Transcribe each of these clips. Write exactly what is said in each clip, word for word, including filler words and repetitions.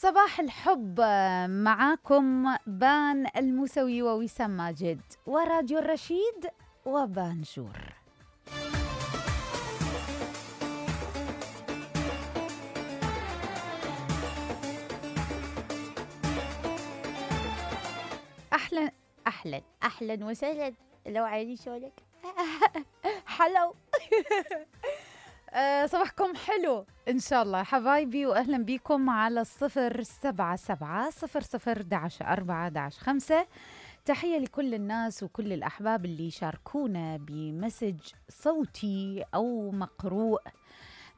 صباح الحب معاكم بان الموسوي ووسام ماجد وراديو الرشيد وبانجور. اهلا اهلا اهلا وسهلا. لو عيني شولك حلو. أه صباحكم حلو إن شاء الله حبايبي، وأهلا بكم على الصفر سبعة سبعة صفر صفر دعش أربعة دعش خمسة. تحية لكل الناس وكل الأحباب اللي يشاركونا بمسج صوتي أو مقروء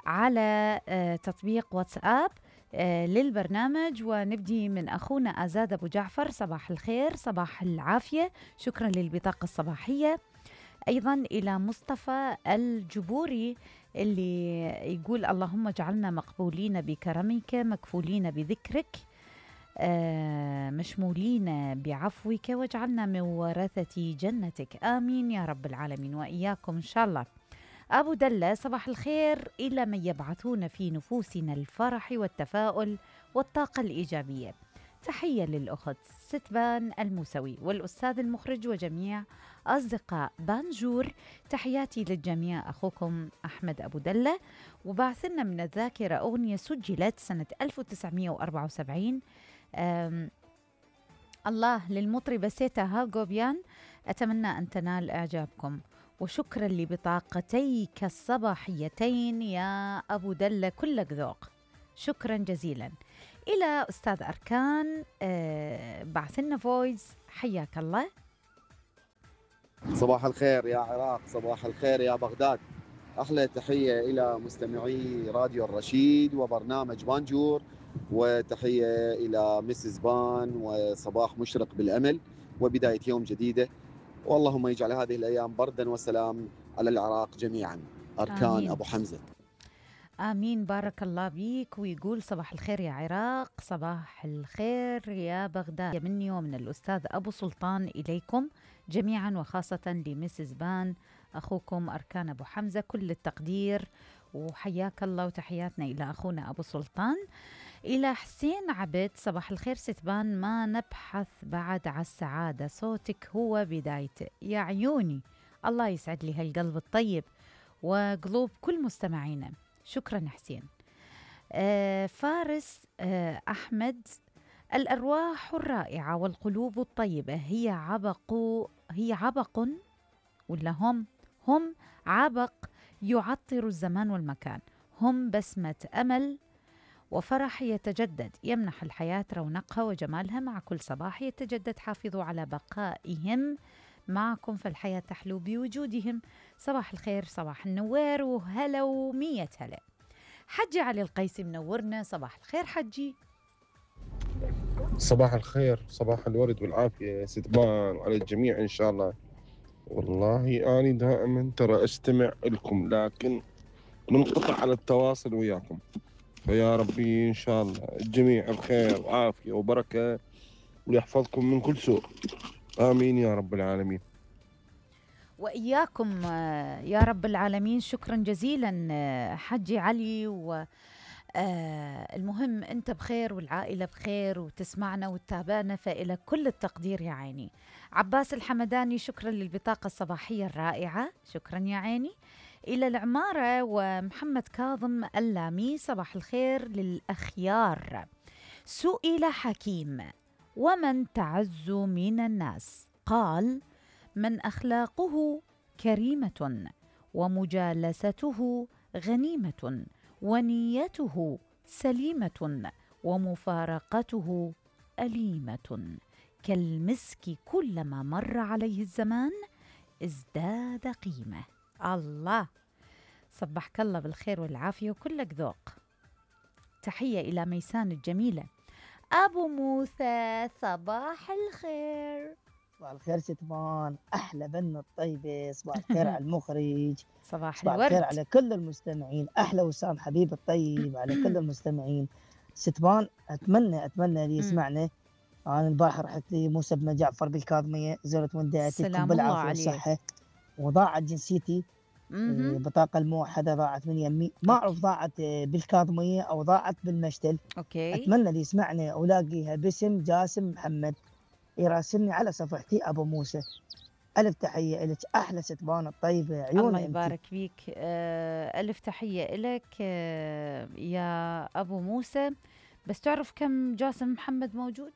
على أه تطبيق واتساب أه للبرنامج. ونبدي من أخونا أزاد أبو جعفر، صباح الخير صباح العافية، شكرا للبطاقة الصباحية. أيضا إلى مصطفى الجبوري اللي يقول اللهم اجعلنا مقبولين بكرمك مكفولين بذكرك آه مشمولين بعفوك واجعلنا من ورثة جنتك، آمين يا رب العالمين وإياكم إن شاء الله. أبو دلة، صباح الخير إلى من يبعثون في نفوسنا الفرح والتفاؤل والطاقة الإيجابية. تحية للأخت ستبان الموسوي والأستاذ المخرج وجميع أصدقاء بانجور. تحياتي للجميع، أخوكم أحمد أبو دلة. وبعثنا من الذاكرة أغنية سجلت سنة ألف وتسعمئة وأربعة وسبعين، الله للمطربة سيتا هاغوبيان، أتمنى أن تنال إعجابكم. وشكرا لبطاقتيك الصباحيتين يا أبو دلة، كلك ذوق، شكرا جزيلا. إلى أستاذ أركان آه بعثنا فويس، حياك الله. صباح الخير يا عراق، صباح الخير يا بغداد. أحلى تحية إلى مستمعي راديو الرشيد وبرنامج بانجور، وتحية إلى مسز بان، وصباح مشرق بالأمل وبداية يوم جديدة، واللهم يجعل هذه الأيام بردا وسلام على العراق جميعا. أركان آمين. أبو حمزة. آمين، بارك الله بيك. ويقول صباح الخير يا عراق، صباح الخير يا بغداد، مني ومن الأستاذ أبو سلطان إليكم جميعا، وخاصة لمسز بان أخوكم أركان أبو حمزة، كل التقدير وحياك الله، وتحياتنا إلى أخونا أبو سلطان. إلى حسين عبد، صباح الخير ستبان، ما نبحث بعد على السعادة، صوتك هو بدايته يا عيوني. الله يسعد لي هالقلب الطيب وقلوب كل مستمعينا، شكرا حسين. آه فارس آه أحمد، الأرواح الرائعة والقلوب الطيبة هي عبق هي عبق ولا هم هم عبق يعطر الزمان والمكان، هم بسمة أمل وفرح يتجدد، يمنح الحياة رونقها وجمالها مع كل صباح يتجدد. حافظوا على بقائهم معكم فالحياة تحلو بوجودهم. صباح الخير، صباح النوير وهلا ومية هلا. حجي علي القيسي منورنا، صباح الخير حجي. صباح الخير، صباح الورد والعافية يا ستبان وعلى الجميع إن شاء الله. والله أنا دائما ترى أستمع لكم، لكن منقطع على التواصل وياكم، فيا ربي إن شاء الله الجميع بخير وعافية وبركة ويحفظكم من كل سوء، آمين يا رب العالمين. وإياكم يا رب العالمين. شكرا جزيلا حجي علي. و المهم أنت بخير والعائلة بخير وتسمعنا وتتابعنا، فإلى كل التقدير يا عيني. عباس الحمداني، شكرا للبطاقة الصباحية الرائعة، شكرا يا عيني. إلى العمارة ومحمد كاظم اللامي، صباح الخير للأخيار. سئل حكيم ومن تعز من الناس، قال من أخلاقه كريمة ومجالسته غنيمة ونيته سليمة ومفارقته أليمة، كالمسك كلما مر عليه الزمان ازداد قيمة. الله، صبحك الله بالخير والعافية وكلك ذوق. تحية إلى ميسان الجميلة. أبو موسى، صباح الخير. صباح الخير ستبان، أحلى بنة الطيبة، صباح الخير على المخرج، صباح, صباح الورد. الخير على كل المستمعين، أحلى وسام حبيب الطيب على كل المستمعين. ستبان أتمنى أتمنى اللي يسمعنا. أنا البارحة رحت لي موسى بن جعفر بالكاظمية، زرت والدتي بالعافية والصحة، وضاعت جنسيتي مهم. البطاقة الموحدة ضاعت من يمي، ما أعرف ضاعت بالكاظمية أو ضاعت بالمشتل. اوكي. أتمنى اللي يسمعني ولاقيها باسم جاسم محمد يراسلني على صفحتي أبو موسى. ألف تحية إلك، أحلى ستبان الطيبة، عيون الله أنت. يبارك فيك. آه، ألف تحية إلك آه، يا أبو موسى. بس تعرف كم جاسم محمد موجود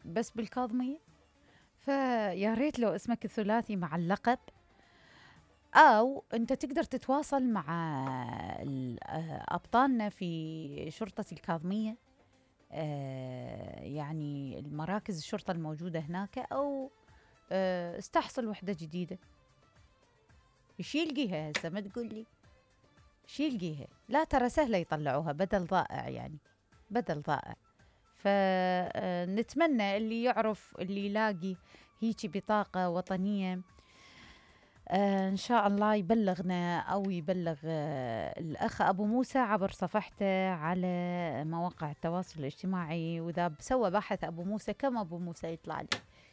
بس بالكاظمية؟ فيا ريت لو اسمك الثلاثي مع اللقب، أو أنت تقدر تتواصل مع ال- آه، أبطالنا في شرطة الكاظمية، آه، يعني المراكز الشرطة الموجودة هناك، أو آه، استحصل وحدة جديدة. شي يلقيها هسه، ما تقول لي شي يلقيها. لا ترى سهلة يطلعوها، بدل ضائع يعني، بدل ضائع. فنتمنى اللي يعرف اللي يلاقي هيجي بطاقة وطنية آه إن شاء الله يبلغنا أو يبلغ آه الأخ أبو موسى عبر صفحته على مواقع التواصل الاجتماعي. وإذا سوى بحث أبو موسى كم أبو موسى يطلع لي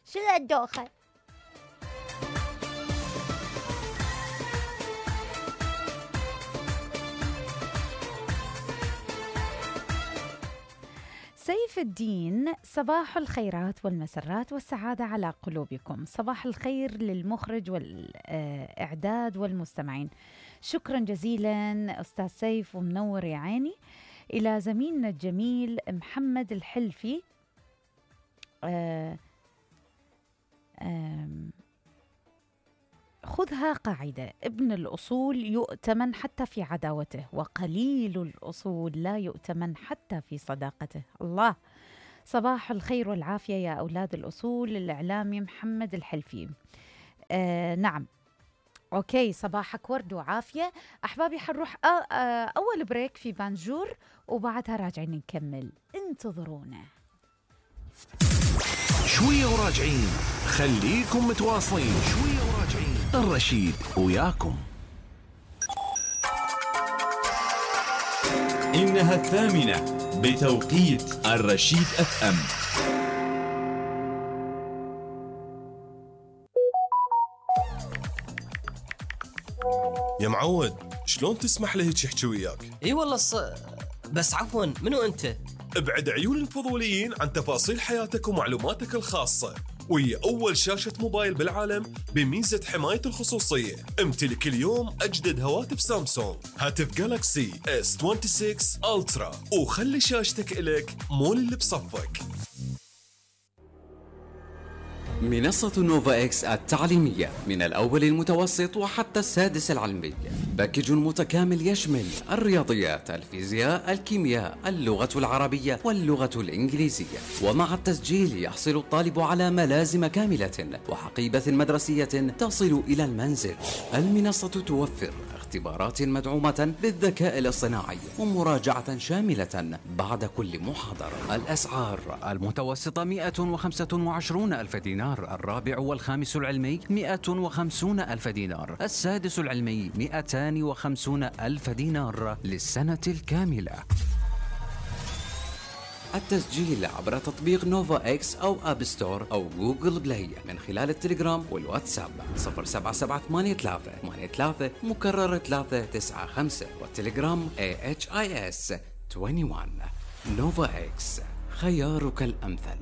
شو الدوخة. سيف الدين، صباح الخيرات والمسرات والسعادة على قلوبكم. صباح الخير للمخرج والإعداد والمستمعين. شكرا جزيلا أستاذ سيف ومنور يا عيني. إلى زميلنا الجميل محمد الحلفي، آه آم خذها قاعدة: ابن الأصول يؤتمن حتى في عداوته، وقليل الأصول لا يؤتمن حتى في صداقته. الله. صباح الخير والعافية يا أولاد الأصول. الإعلامي محمد الحلفي. آه نعم، أوكي، صباحك ورد وعافية. أحبابي حنروح آه آه أول بريك في بانجور وبعدها راجعين نكمل، انتظرونا. شوية وراجعين، خليكم متواصلين. شوية وراجعين، الرشيد وياكم. إنها الثامنة بتوقيت الرشيد اف ام. يا معود، شلون تسمح له هيك يحكي وياك؟ اي والله ص... بس عفوا، منو انت؟ ابعد عيون الفضوليين عن تفاصيل حياتك ومعلوماتك الخاصة، وهي أول شاشة موبايل بالعالم بميزة حماية الخصوصية. امتلك اليوم أجدد هواتف سامسونج، هاتف جالاكسي إس ستة وعشرين ألترا، وخلي شاشتك إلك مو اللي بصفك. منصة نوفا إكس التعليمية، من الأول المتوسط وحتى السادس العلمي. باكج متكامل يشمل الرياضيات، الفيزياء، الكيمياء، اللغة العربية واللغة الإنجليزية. ومع التسجيل يحصل الطالب على ملازم كاملة وحقيبة مدرسية تصل إلى المنزل. المنصة توفر اختبارات مدعومة بالذكاء الاصطناعي ومراجعة شاملة بعد كل محاضرة. الأسعار: المتوسطة مئة وخمسة وعشرين ألف دينار، الرابع والخامس العلمي مئة وخمسين ألف دينار، السادس العلمي مئتان وخمسين ألف دينار للسنة الكاملة. التسجيل عبر تطبيق نوفا إكس أو أب ستور أو جوجل بلاي من خلال التليجرام والواتساب صفر سبعة سبعة ثمانية ثلاثة ثمانية ثلاثة مكرر ثلاثة تسعة خمسة، والتليجرام إيه إتش آي إس واحد وعشرين. نوفا إكس، خيارك الأمثل.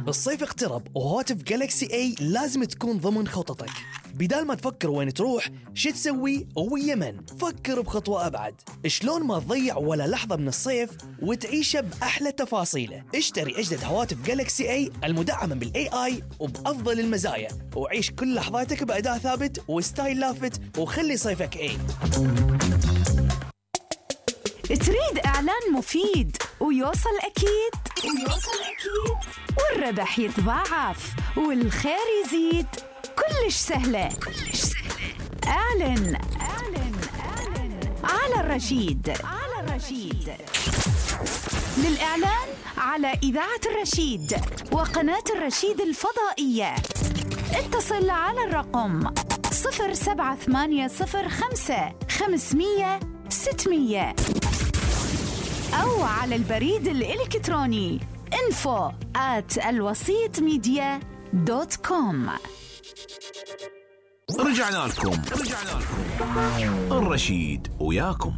الصيف اقترب وهواتف جالكسي اي لازم تكون ضمن خططك. بدال ما تفكر وين تروح شو تسوي ويا من، فكر بخطوة أبعد. شلون ما تضيع ولا لحظة من الصيف وتعيشه بأحلى تفاصيله. اشتري أجدد هواتف جالكسي اي المدعمة بالاي اي وبأفضل المزايا، وعيش كل لحظاتك بأداء ثابت وستايل لافت، وخلي صيفك اي. تريد إعلان مفيد ويوصل أكيد ويوصل أكيد والربح يتضاعف والخير يزيد؟ كلش سهلة كلش سهلة. أعلن أعلن أعلن على الرشيد على الرشيد. للإعلان على إذاعة الرشيد وقناة الرشيد الفضائية اتصل على الرقم صفر سبعة ثمانية صفر خمسة خمسمية ستمية أو على البريد الإلكتروني info at الوسيط ميديا دوت كوم. رجعنا لكم رجعنا لكم الرشيد وياكم.